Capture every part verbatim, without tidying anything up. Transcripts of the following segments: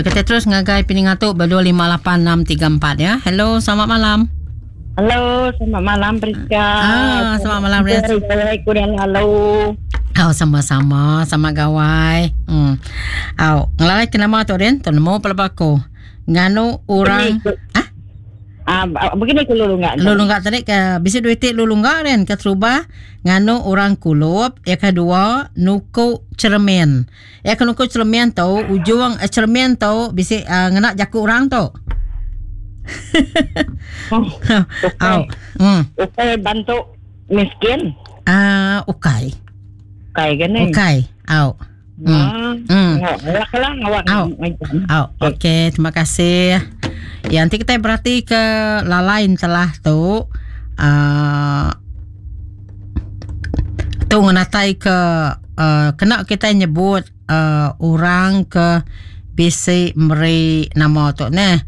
Ya, kita terus ngagai peningat tu berdua lima lapan enam tiga empat ya. Hello, selamat malam. Halo, selamat malam Priska. Ah, selamat malam Priska. Kurang halo. Oh, sama-sama, sama gawai. Hmm. Au, ngelalai ke nama tu Rin, tu nemu pelebaku. Nganu orang ah? Ah, begini ku lulu enggak. Lulu enggak tadi ke bisi duit lulu enggak Rin ke terubah nganu orang kulup, yang kedua nuku cermin. Ya ke nuku cermin tu ujung eh, cermin tu bisi uh, ngena jaku orang tu. Oh, Au. Hmm. Ukai bantu miskin. Ah, ukai. Ukai kan ni. Ukai. Au. Hmm. Hmm. Awak lah, awak. Au. Au. Okey, terima kasih. Ya, nanti kita berarti ke lalain telah tu uh, tu ngenatai ke uh, kena kita nyebut uh, orang ke bisi meri nama tu neh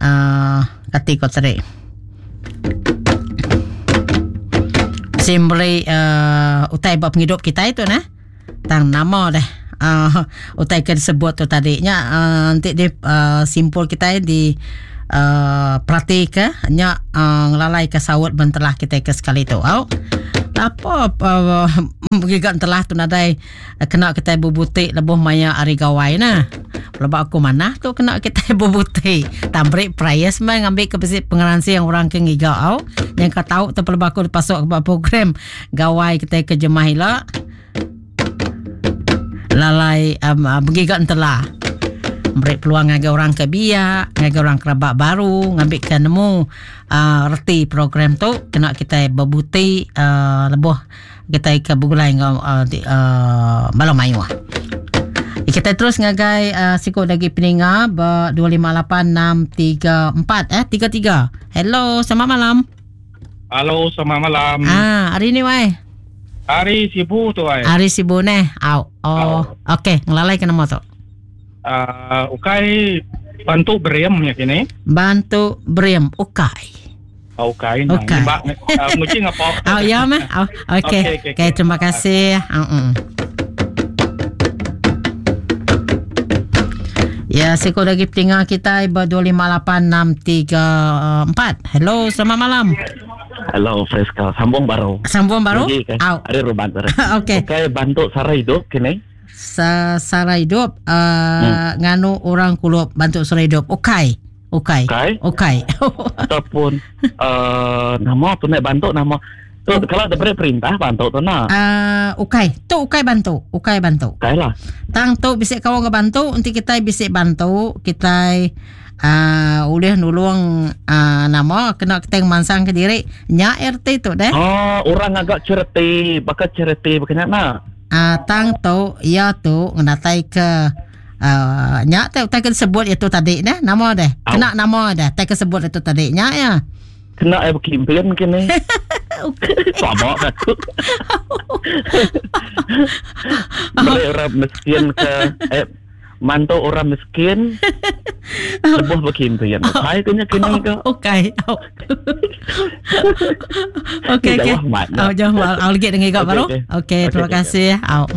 uh, kati ko tadi. Bisi meri uh, utai buat penghidup kita itu neh. Tang nama deh. Uh, utai ke disebut tu tadi nya uh, nanti di uh, simpul kita di uh, perhati ke nya uh, ngelalai ke sawut bentelah kita ke sekali tu. Au. Apa uh, giga telah tu nadai kena kita bubutik lebuh maya hari gawai nah. Pelebak aku mana tu kena kita bubutik. Tambrik prize mai ngambil ke besi pengeransi yang orang ke ngiga au. Yang kau tahu tu pelebak aku dipasuk ke program gawai kita ke jemah ila. Lalai um, uh, bergiga entelah. Beri peluang ngagai orang ke biak, ngagai orang kerabat baru, ngambil ke nemu uh, reti program tu kena kita berbuti uh, lebuh kita ke begulai ngau uh, di, uh, malam mayu. Kita terus ngagai uh, sikut lagi peninga ber dua lima lapan enam tiga empat eh tiga tiga. Hello, selamat malam. Halo, selamat malam. Ah, hari ni wai. Hari Sibu tu ai. Hari Sibu neh. Au. Oh, okey, ngelalai ke nama tu. Uh, ukai bantu beriam ya kini. Bantu beriam ukai. Oh, ukai nah. Ukai. Mbak uh, mungkin apa? Oh, ya meh. Oh, okey. Okey, okey, Okey, terima kasih. Uh-uh. Ya, seko lagi petingah kita ber dua lima lapan enam tiga empat. Hello, selamat malam. Hello, Friska. Sambung baru. Sambung baru? Lagi ke? Au. Ada ruban baru. Okey. Okey, bantu sara hidup kini. Sa sara hidup uh, hmm. nganu orang kulup bantu sara hidup. Okey. Okey. Okey. Okey. Ataupun uh, nama tu nak bantu nama. Tu oh. Kalau ada perintah bantu tu nak. Uh, okey. Tu okey bantu. Okey bantu. Okey lah. Tang tu bisik kau ke bantu, nanti kita bisik bantu, kita uh, boleh nulung uh, nama kena kita mansang ke diri nya R T tu deh. Oh, orang agak cereti, bakal cereti berkenaan nak. Uh, tang tu ya tu ngenatai ke uh, nya tak tak sebut itu tadi neh nama deh. Kena nama deh, tak sebut itu tadi nya ya. Kena eh berkimpian kini. Sama aku. Beri orang miskin ke eh mantu orang miskin lebuh berkimpian. Saya kena kena ke. Okey. Okey okey. Oh jauh al lagi dengan kau baru. Okey, terima kasih. Au.